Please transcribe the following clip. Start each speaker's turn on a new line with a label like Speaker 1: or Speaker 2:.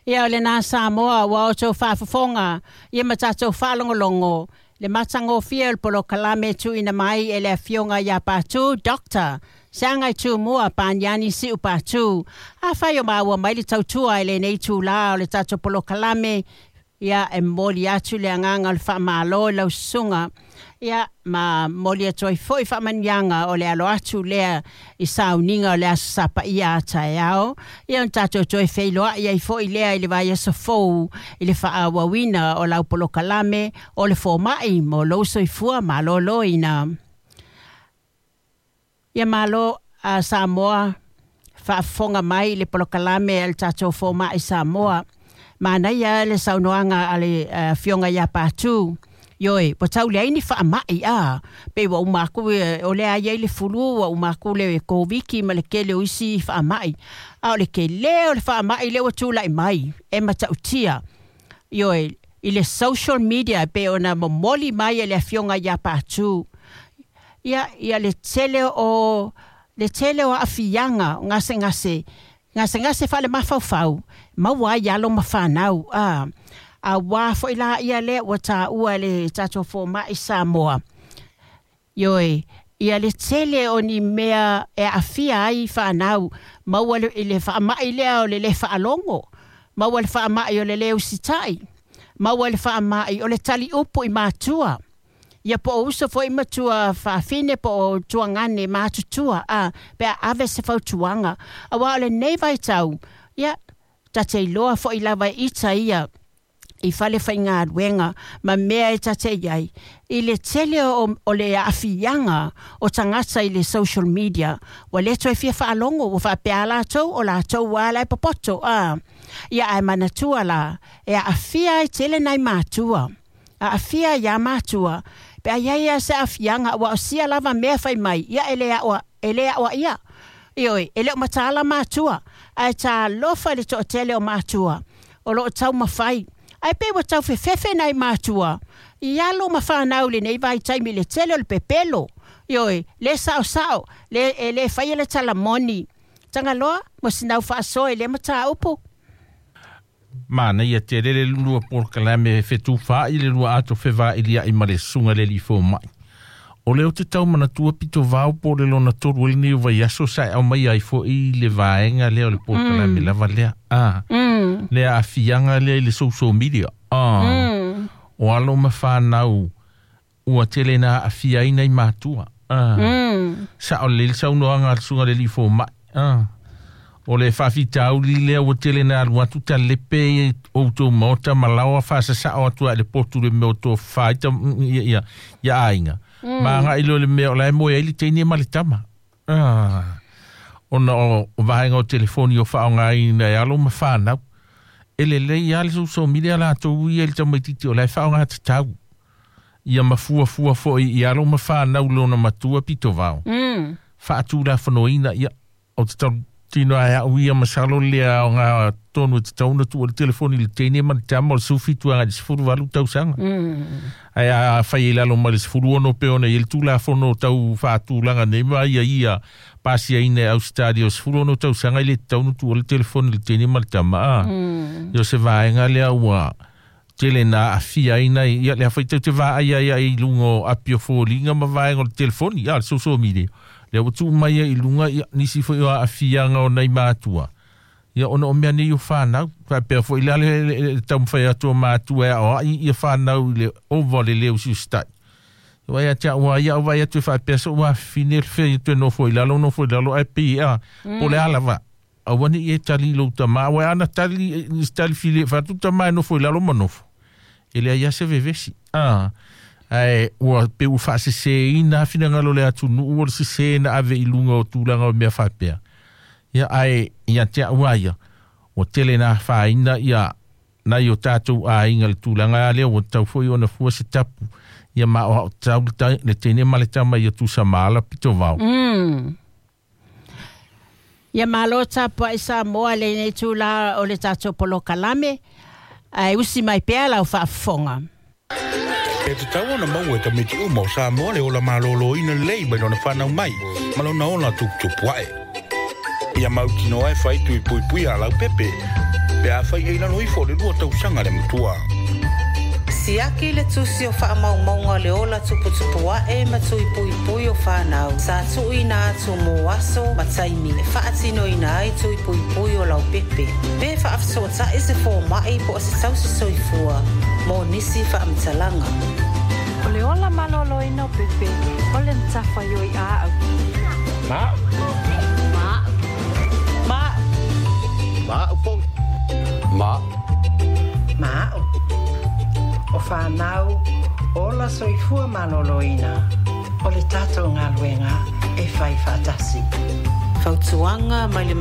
Speaker 1: Ia o lena Samoa ua outou faafofoga ia ma tatou faalogologo le matagofie o le polokalame e tuuina mai e le Afioga ia Patu Doctor Seagai Tumua Paniani Siu Patu. Afai o maua mai le tautua i lenei itulā o le tatou polokalame, ia e momoli atu le agaga o le faamalo i lau susuga, ia ma momoli atu ai foi faamanuiaga o le alo atu lea i sauniga o le Aso Sa Paia a taeao, ia ona tatou toe feiloai ai foi lea i le vaiaso fou i le faaauauina o lau polokalame o le fomai mo lou soifua maloloina. Ia malo a Samoa faafofoga mai i le polokalame a le tatou fomai Samoa. Manaia le saunoaga a le Afioga ia Patu. Ioe, ua tau leai ni faamai a, pei ua uma atu o lea i ai le fulu, ua uma atu le Koviti ma le tele o isi faamai. A o le tele o le faamai lea ua tulai mai e matautia. Ioe, i le social media pei ona momoli mai e le Afioga ia Patu. Ia, ia le tele o le tele o aafiaga o gasegase, gasegase faale-mafaufau, maua ai alo ma fanau. A, auā foi la ia lea ua taua e le tatou fomai Samoa. Ioe, ia le tele o ni mea e aafia ai fanau, maua i le faamai lea o le lē faalogo, maua le faamai o le lē usitai, maua le faamai o le taliupu i matua. Ia po o uso foi ma tuafafine po o tuagane matutua a, pe a ave se fautuaga. Auā o lenei vaitau, ia, ta te iloa foi lava e ita ia i fale faigaluega ma mea e ta te i ai, i le tele o le aafiaga o tagata i le social media, ua le toe fia faalogo, ua faapea latou o latou lava la e popoto a. Ia ae manatua la, e aafia ai tele nai matua, aafia ai iā matua, pe a i ai lava se aafiaga, aua o sia lava mea fai mai, ia e le e le aoaia. Ioe, e le o mataala matua, ae talofa i le toatele o matua o lo o taumafai. Ae pei ua tau fefefe nai matua i alo ma fanau i lenei vaitaimi i le tele o le pepelo. Ioe, le saosao, le, e le faia le tala moni. Tagaloa, mo sina faasoa i lea mataupu.
Speaker 2: Manaia tele le lua polokalame e fetufaai le lua ato fevailia'i ma le susuga i le alii fomai. O lea ou te tau manatua pito vao po o le lona tolu ai lenei o vaiaso sa e aumaia ai foi le vaega lea o le polokalame lava lea. A, le aafiaga lea i le social media. A, o alo ma fanau ua tele na aafia ai nai matua. A, sao lelei le saunoaga a le susuga i le alii fomai. A, o le faafitauli lea ua tele na alu atu talepe outou maota ma laoa faasasao atu ai le potu le mea o tofafa ai ia, ia, ia aiga. Ma agai loa i le mea o la e moe ai le teine ma le tama. Ah, ona o vaega o telefoni o faaaogaina e alo ma fanau. E lelei lava le social media latou ia i le tamaitiiti o la e faaaoga tatau. Ia ma fuafua foi i alo ma fanau lona matua pito vao. Faatulafonoina, ia, o te tautino ai au ia masalo le aoga tonu e tatau ona tuu ai le telefoni i le teine ma le tama o le 17 agai i le 18 tausaga. Ae a fai i lalo mai le 16 pe ona i ai le Tulafono tau faatulaga nei ma ia ia pasiaina e Ausetalia o 16 tausaga e le tatau ona tuu ai le telefoni i le teine ma le tama. A, ia o se vaega lea ua tele na aafia ai nai ia lea foi tatou te vaai ai ai i luga o api o foliga ma vaega o le telefoni, a le social media lea ua tuu mai ai i luga ia nisi foi o aafiaga o nai matua ia ona o mea nei o fanau faapea foi la le taumafai atu o matua e aoai ia fanau i le ova o le lē usiusitai. Ia ia te au a ia au vaai atu e faapea so'u afafine le fea ia toe nofo i lalo nofo i lalo ae pei a po o le a lava aua ne i e tali i lou tamā aua ana tali i se tali fili e fai atu tamā e nofo i lalo ma nofo e leai lava se vevesi a ae ua pei ua faaseseina lava finagalo o le atunuu o le sesē na ave i luga o tulaga o mea faapea ia ae ia te au a ia ua tele na afaina ia nai o tatou aiga i le tulaga lea ua tatau foi ona fua se tapu ia ma o tau le teine ma le tama ia tusa ma ala pito vao.
Speaker 1: Ia malo tapuai Samoa lenei itulā o le tatou polokalame, ae usi mai pea lau faafofoga.
Speaker 3: E tatau ona maua e tamaiti uma o Samoa le ola malōlōina lelei mai lona fanau mai ma lona ola tuputupu ae. Ia mautinoa e fai tui puipuia a laupepe. Pe afai e i lalo ifo o le 2 tausaga le matua.
Speaker 4: Siaki le tusi o faamaumauga o le ola tuputupu ae ma tui puipui o whanau. Sa tuuina atu mo aso ma taimi e faatinoina ai tui puipui o laupepe. Pe faafesootai se fomai po o se tausi soifua mo nisi faamatalaga.
Speaker 5: O le ola malōlōina o pepe, o le matafaioi a au.
Speaker 6: Ma.
Speaker 5: Ma.
Speaker 1: Ma.
Speaker 6: Ma upo.
Speaker 7: Ma.
Speaker 8: Ma. O whanau, ola soifua malōlōina, o le tātou galuega e fai faatasi.
Speaker 4: Fautuaga mai le